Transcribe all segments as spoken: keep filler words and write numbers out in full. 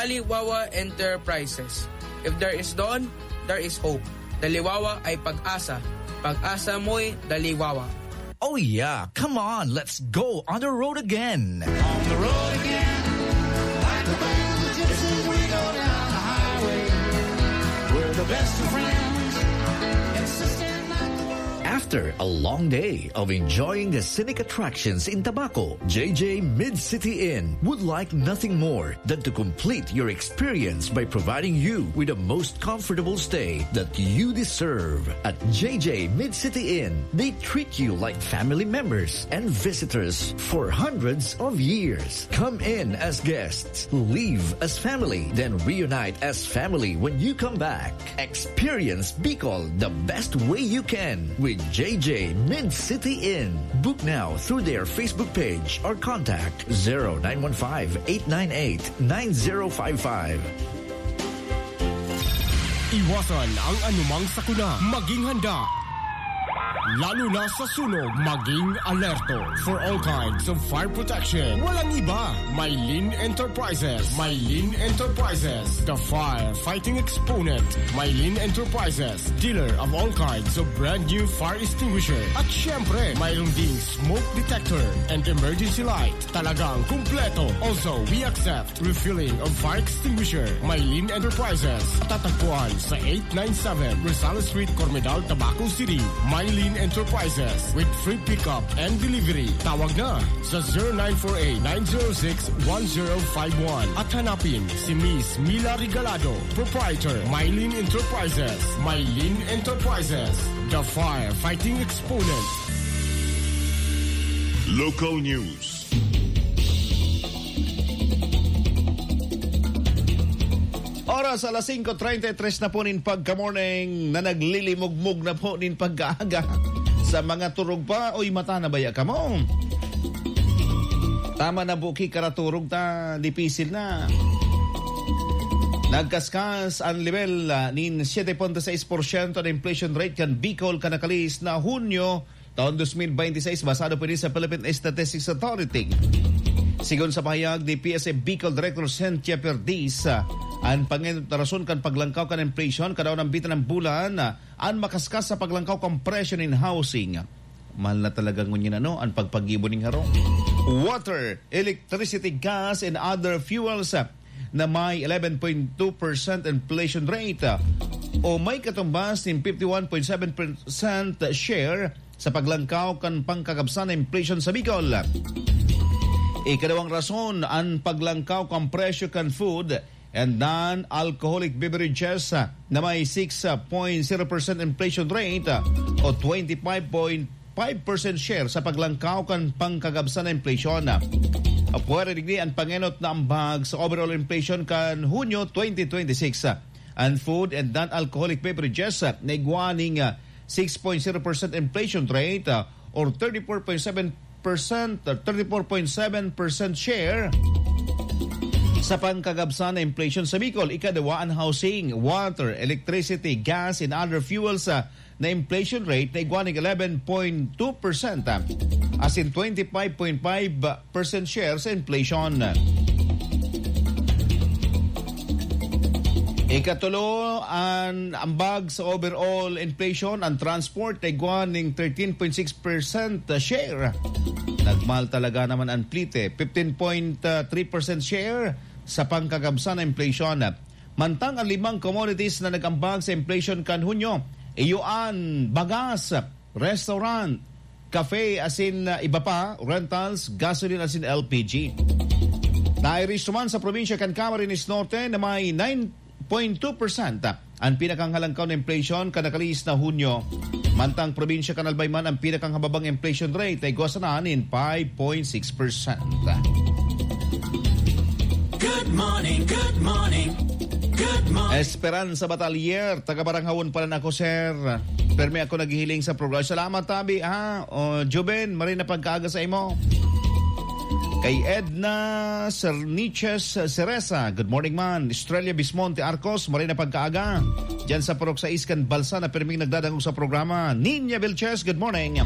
Daliwawa Enterprises. If there is dawn, there is hope. Daliwawa ay pag-asa. Pag-asa mo'y daliwawa. Oh yeah, come on, let's go on the road again. On the road again, like a band of gypsies, we go down the highway. We're the best of friends, insisting that the world After a long day of enjoying the scenic attractions in Tabaco, J J Mid-City Inn would like nothing more than to complete your experience by providing you with the most comfortable stay that you deserve. At J J Mid-City Inn, they treat you like family members and visitors for hundreds of years. Come in as guests, leave as family, then reunite as family when you come back. Experience Bicol the best way you can with J J Mid-City Inn. Book now through their Facebook page or contact zero nine one five, eight nine eight, nine zero five five. Iwasan ang anumang sakuna. Maging handa. Lalo na sa sunog, maging alerto. For all kinds of fire protection, walang iba. Mylene Enterprises. Mylene Enterprises, the firefighting exponent. Mylene Enterprises, dealer of all kinds of brand new fire extinguisher. At syempre, mayroon ding smoke detector and emergency light. Talagang kumpleto. Also, we accept refilling of fire extinguisher. Mylene Enterprises. Tatagpuan sa eight nine seven Rosales Street, Cormedal, Tabaco City. Mylene Enterprises with free pickup and delivery. Tawag na sa zero nine four eight, nine zero six, one zero five one at hanapin si Miss Mila Regalado, proprietor, Mylene Enterprises. Mylene Enterprises, the firefighting exponent. Local news. Oras alas singko treinta y tres na po nin pagka-morning na naglilimugmog na po nin pagkaaga. Sa mga turog pa, uy, mata na baya kamo? Tama na, buki, karaturog ta, dipisil na. Nagkaskas an lebel, ah, nin siete punto seis porsyento na inflation rate kan Bicol kan nakalihis na Hunyo taon dos mil bente y seis, basado po ini sa Philippine Statistics Authority. Sigon sa pahayag ni P S A Bicol Director Cynthia Perdiz, ah, an pangenot na rason kan paglangkaw kan inflation kada unang bitin ng bulan, ah, an makaskas sa paglangkaw kan presyo nin housing. Mahal na talaga ngunyan, ano, an pagpaggibo nin harong. Water, electricity, gas, and other fuels, ah, na may eleven point two percent inflation rate, ah, o may katumbas nin fifty-one point seven percent share sa paglangkaw kan pangkakabsan na inflation sa Bicol. Ikadawang rason, an paglangkaw kan presyo kan food and non-alcoholic beverages, ah, na may six point zero percent inflation rate, ah, o twenty-five point five percent share sa paglangkaw kan pangkagabsan na inflation. Apwera digdi an pangenot na ambag sa overall inflation kan Hunyo twenty twenty-six. An food and non-alcoholic beverages, ah, na igwa ning, ah, six point zero percent inflation rate, ah, or thirty-four point seven percent, ah, thirty-four point seven percent share sa pangkagabsan na inflation sa Bicol. Ikaduwa, an housing, water, electricity, gas, and other fuels, ah, na inflation rate na igwa ning eleven point two percent, ah, asin twenty-five point five percent share sa inflation. Ikatulo, an ambag sa overall inflation, an transport na igwa ning thirteen point six percent share. Nagmahal talaga naman an plite, fifteen point three percent share sa pangkagabsan na inflation. Mantang an limang commodities na nag-ambag sa inflation kan Hunyo, iyo an bagas, restaurant, cafe, asin, ah, iba pa, rentals, gasoline asin L P G. Nairis man sa probinsya kan Camarines Norte na may nine point two percent an pinakanghalangkaw na inflation kan nakalihis na Hunyo. Mantang probinsya kan Albay man an pinakanghababang inflation rate na igwa sana nin five point six percent. Good morning, good morning, good morning. Esperanza Batalier, taga Baranghawon pala na ako, sir. Permi ako naghihiling sa programa. Salamat, tabi, ha? O, Juben, maray na pagkaaga sa imo. Kay Edna Serniches Cereza, good morning, man. Estrella Bismonte Arcos, maray na pagkaaga. Diyan sa Purok sais kan Balsa na pirming nagdadangog sa programa. Ninya Vilches, good morning.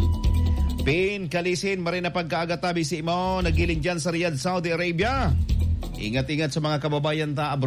Pin Kalisin, maray na pagkaaga, tabi sa imo. Nagiling diyan sa Riyadh, Saudi Arabia. Ingat-ingat sa mga kababayan ta abroad.